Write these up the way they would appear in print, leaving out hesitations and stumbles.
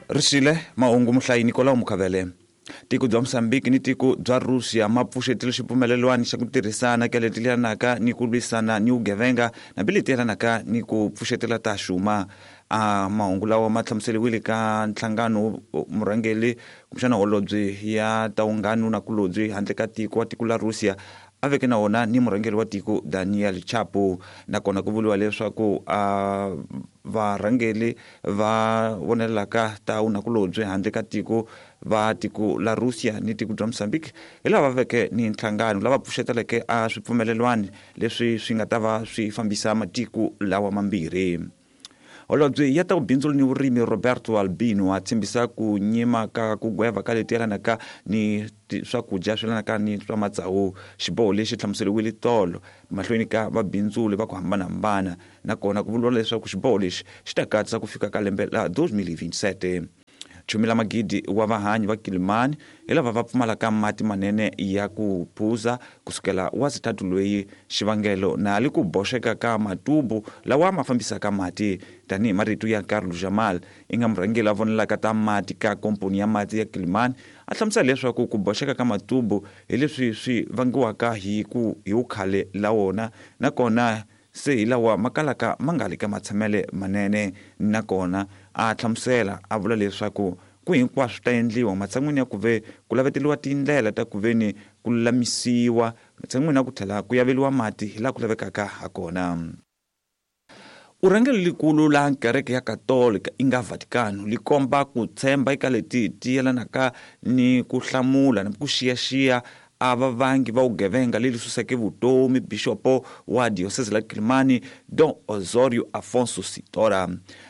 Ri xile mahungu muhlayi Nicolau Mukhavele. Tiko bya Mosambiki ni tiko bya Russia ma pfuxetile xipfumelelwani xa ku tirhisana ka leti yelanaka ni ku lwisana ni vugevenga hambi leti yelanaka ni ku pfuxetela ta xuma. A mahungu lawa ma hlamuseriwile ka nhlangano murhangeri kumbexana holobye ya ta vunghanu na kulobye handle ka tiko wa tiko la Russia a veke na wona ni murhangeri wa tiko Daniel Chapo. Nakona ku vuriwa leswaku a varhangeri va vonelaka ta vunakulobye handle ka tiko va tiko la Russia ni tiko bya Mozambique hi lava veke ni nhlangano lava pfuxeteleke a swipfumelelwani leswi swi nga ta va swi fambisa matiko lawa mambirhi. Holobye ya ta vubindzuli ni vurimi Roberto Albino a tshembisa ku nyima ka ku gweva ka leti yelanaka ni swakudya swi yelanaka ni swa matsawu. Xiboho lexi hlamuseriwile tolo mahlweni ka vabindzuli va ku hambanahambana, nakona ku vuriwa leswaku xiboho lexi xi ta katsa ku fika ka lembe la 2027. Chumi la magidi wa vahanyi va Kilimani hi lava va pfumalaka mati manene ya ku phuza kusukela wa sithathu loyi. Xivangelo na li ku boxeka ka matubu lawa ma fambisaka mati. Tanihi marito ya Carlo Jamal, i nga murhangeri a vonelaka ta mati ka komponi ya mati ya Kilimani, a hlamusela leswaku ku boxeka ka matubu hi leswi swi vangiwaka hi ku hi vukhale la wona, nakona se hi lawa ma kalaka ma nga li ka matshamele manene. Nakona a hlamusela a vula leswaku ku hinkwaswo ta endliwa matshan'wini ya ku ve ku laveteliwa tindlela ta ku veni ku lulamisiwa, matshan'wini ya ku tlhela ku yaveliwa mati hi laha ku lavekaka ha kona. Urhangeri likulu la kereke ya Katolika i nga Vatikano li komba ku tshemba eka leti ti yelanaka ni ku hlamula na ku xiyaxiya a vavangi va vugevenga leli suseke vutomi bixopo wa diocese la Kilimani Don Osorio Afonso Sitora.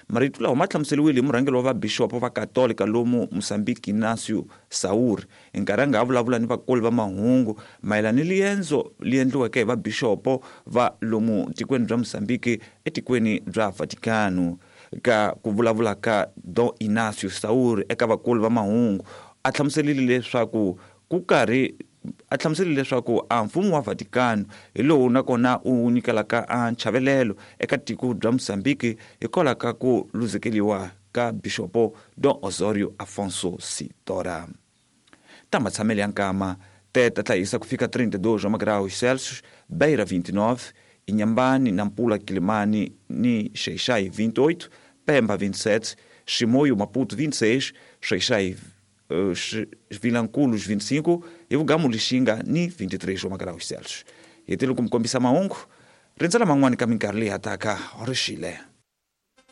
Marito lawa ma hlamuseriwile hi murhangeri wa vabixopo va Katolika lomu Mozambique Inácio Saur hi nkarhi a nga ha vulavula ni vakoli va mahungu mayelana ni liendzo li endliweke hi vabixopo va lomu tikweni bya Mozambique etikweni bya Vatikano. Ka ku vulavula ka Don Inácio Saur eka vakoli va mahungu a hlamuserile leswaku ku karhi a hlamuserile leswaku a mfumo wa Vatikano hi lowu nakona u nyikelaka a nchavelelo eka tiko bya Mozambique hikwalaho ka ku luzekeriwa ka bixopo Don Osorio Afonso Sitora. Ta matshamelo ya nkama teta tla hisa ku fika 32 wa magraus Celsius, Beira 29, Inhambane, Nampula, Quilimane ni Xai-Xai 28, Pemba 27, Chimoio, Maputo 26, Xai-Xai Vilanculos 25, hi Vugamu Lixinga ni 23 wa magraus Celsius. Hi tile ku mi kombisa mahungu rindzela man'wani ka minkarhi leyi hataka ri xile.